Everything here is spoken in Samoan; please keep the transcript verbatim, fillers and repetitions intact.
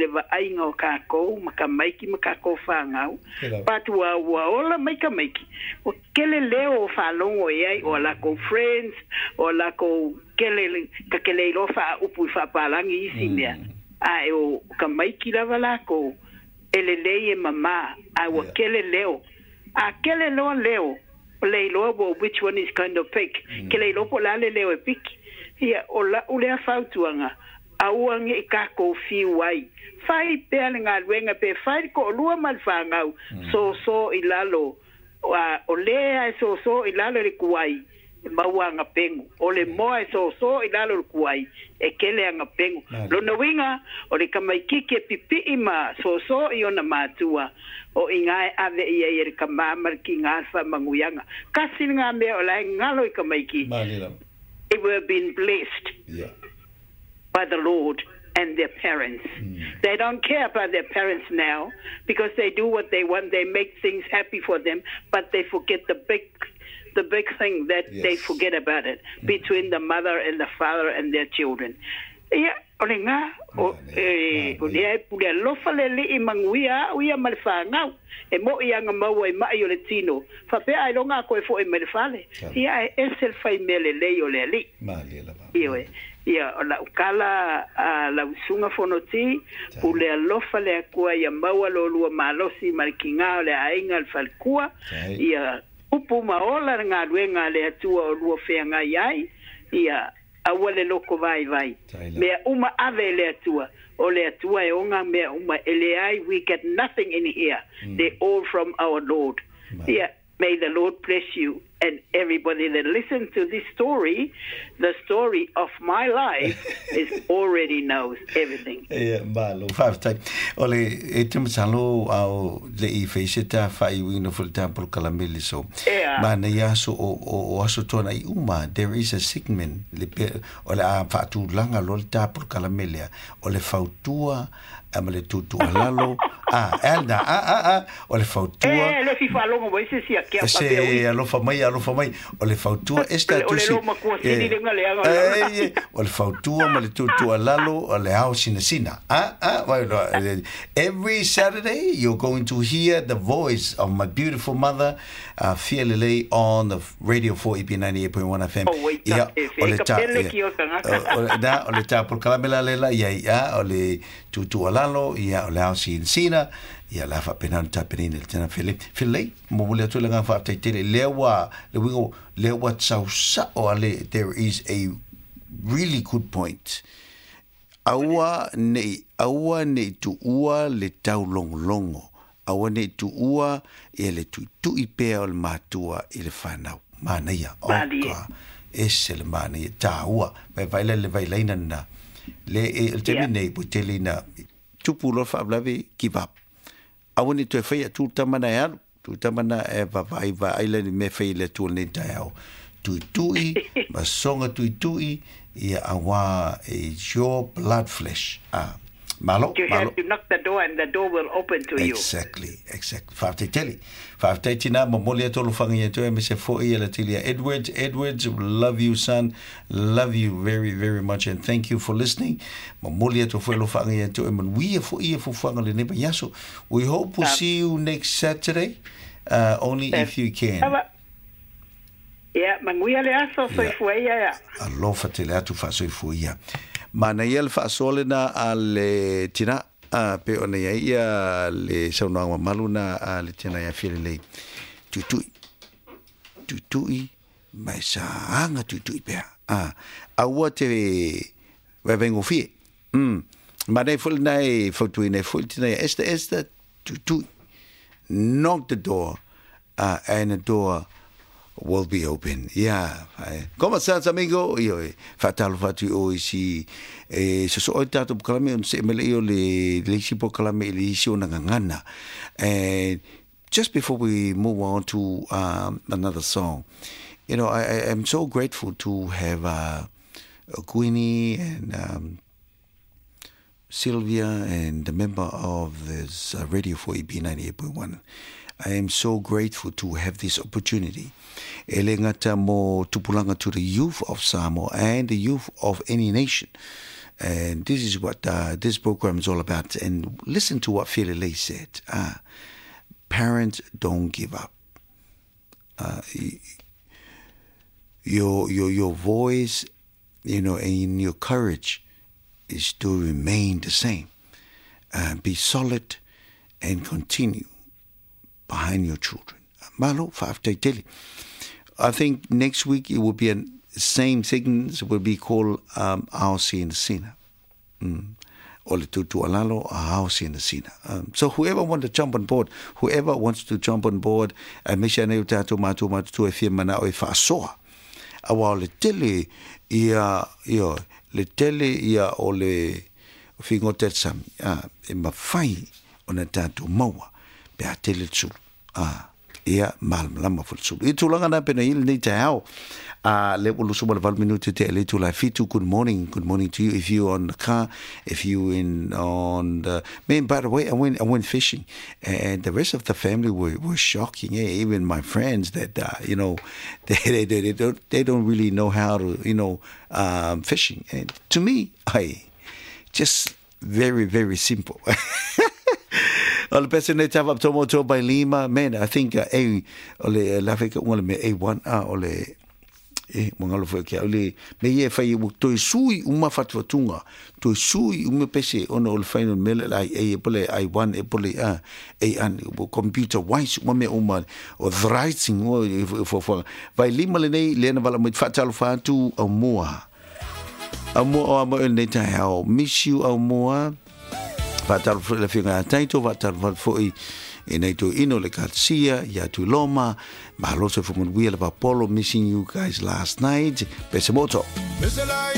I le vaaiga o kākou ma tamaiti ma kākou fanau. But ua ua ola mai tamaiti. Ua kele leo o faalogo i ai o lakou friends, o lakou kele ka kele iloa faaupu i faapalagi isi mea. Ae o tamaiti lava lakou e lelei e mamā ae ua kele leo. A kele loa leo, o le iloa ua which one is kind of pick. Ke le iloa po o le a le leo e piki. Ia, o la'u lea fautuaga, aua ne i kākou fiu ai. Fai pea le galuega pe fai le toalua ma le fanau, soso i lalo, a o lē a e soso i lalo i le tuai, e maua ana pegu. O le moa e soso i lalo o le tuai, e kele ana pegu. Lona uiga, o le tamaitiiti e pipii ma soso i ona matua, o i ina e ave i ai e le tamā ma le tinā le faamanuiaga. Tasi lena mea o la e galo i tamaiti. They were being blessed Yeah. by the Lord and their parents. They don't care about their parents now because they do what they want. They make things happy for them, but they forget the big the big thing that they Yes. forget about it between the mother and the father and their children. Ia, o le gā, o, e, o lea e pule alofa le Alii manuia a'u ia ma le fanau. E mo'i aga maua i ma'i o le tino. Faapea ailoga a koe fo'i mai le fale. Ia ae ese le faimea lelei o le Alii. Ioe. Ia, o la'u tala a lau susuga Fonoti, pule alofa le Atua ia maua lo lua malosi ma le tigā o le aiga le faletua, ia upu ma ola le galuega a le Atua o lua feagai ai, ia aua le loko vaivai. Mea uma ave i le Atua, o le Atua e ona mea uma, e leai, we get nothing in here. They all from our Lord. Ia, may the Lord bless you and everybody that listens to this story, the story of my life is already knows everything. Ia, malo, faafetai. O le e te masalo ao le i feise ta faaiuina foi le ta polokalame le so. Ea. Ma nei aso o, o, o aso tona i uma, there is a segment, le pe, o le a faatulaga loa le ta polokalame lea, o le fautua a ma le tuutuualalo, a, e na, a, a, a, o le fautua, E le fia faalogo mai se isi a kea se faapea ui. Alofa mai, alofa mai, o le fautua e O le tusi loo matua sili le leaga o le eh, o le fautua ma le tuutuualalo o le ao sinasina. Ah, ah, well, no, every Saturday you're going to hear the voice of my beautiful mother, uh, Fia Lelei, on the Radio four E B ninety-eight point one F M. Oh, wait, Ia, e o le ka ta pele ia, ki o tagata. o, o, na, o le ta polokalame la lela ia ia o le tuutuualalo ia o le ao sinasina ia la faapena ona tapenina le tena fele felei momoli atu le agaga faafetai tele lea ua le uiga lea ua tausa'o ale. There is a really good point. Aua nei aua nei tuua le taulogologo, aua nei tuua ia le tuitui pea o le matua i le fanau. Manaia o Malie. ka ese le manaia tāua vai vai le vai laina na le e le taimi Ia. nei ua tele ina tupu loa faalavelave, give up. Aua ne toe faia tu tamana e alu tu tamana e vavaai vaai le ni mea fai le Atua lenei taeao tuitui ma soga tuitui ia auā is your blood flesh. Ah, malo. You Malo. have to knock the door and the door will open to you. Exactly, exactly. Faafetai tele. Faafetai tina momoli atu alofaga ia te oe me se foi ia la tilia. Edwards, Edwards, love you, son. Love you very, very much and thank you for listening. Momoli atu foi alofaga ia te oe manuia foi ia fuafuaga lenei vaiaso. We hope we'll see you next Saturday. Uh, only if you can. Ava. Ia, manuia le aso soifua ia ia. Alofa tele atu faasoifua ia. Manaia le faasoa lena a le tina a pe ona ia ia le saunoaga mamalu na a le tina ia Fialelei. Tuitui. Tuitui ma e saga tuitui pea. A, aua te vaevaegofie. Mm. Manaia foi lena e fautuaina ai foi le tina ia Esther, Esther, tuitui. Knock the door, uh, and the door will be open. Yeah. Como estás, amigo? Io e faatalofa atu i o isi e sosoo i tatou polokalame ona see mai lea o le le isi polokalame i le isi ona gagana. And just before we move on to um, another song, you know, I, I am so grateful to have uh, Queenie and um, Sylvia and the member of this uh, Radio four E B ninety-eight point one. I am so grateful to have this opportunity. E le gata mo tupulaga, to the youth of Samoa and the youth of any nation. And this is what uh, this program is all about. And listen to what Felele said. Uh, parents, don't give up. Uh, your, your, your voice, you know, and your courage is to remain the same. Uh, be solid and continue behind your children. Malo, fa'afetai. I think next week it will be a same thing. It will be called um, Ao Sina Sina. Mm. O le tutu alalo, ao sina sina. Um, so whoever wants to jump on board, whoever wants to jump on board, uh, me se ana i o tatou matua matutua e fia mana'o e fa'asoa. Auā o le tele ia, ia, le tele ia o le figota i le sami, a, e mafai ona tatou maua pe a tele le sulu. A, ia malamalama foi le sulu. I tulaga na pena i lenei taeao. Uh, le ua lusu ma le valu minute te le tula fitu. Good morning, good morning to you. If you on the car, if you in on the man. By the way, I went I went fishing, and the rest of the family were, were shocking. Eh? Even my friends that uh, you know they, they they they don't they don't really know how to you know um, fishing. And to me, I just very very simple. O le pese nei tava tomo to by lima man I think uh, a o le la feka o le me A one a o le e mo ngalo foi ke o le me ye fai o toi sui uma fatufatunga toi sui uma pese ona o le final mele lai e pole I one e pole a e an o computer wise uma me uma o writing o fo fo vai lima le nei le na vala mo fatalo fatu au moa au moa o mo nei tai au miss you au moa fatalo foi le finga taito fatalo foi e nei to ino le Garcia ia tu Loma malo se fo le Polo missing you guys last night pese moto.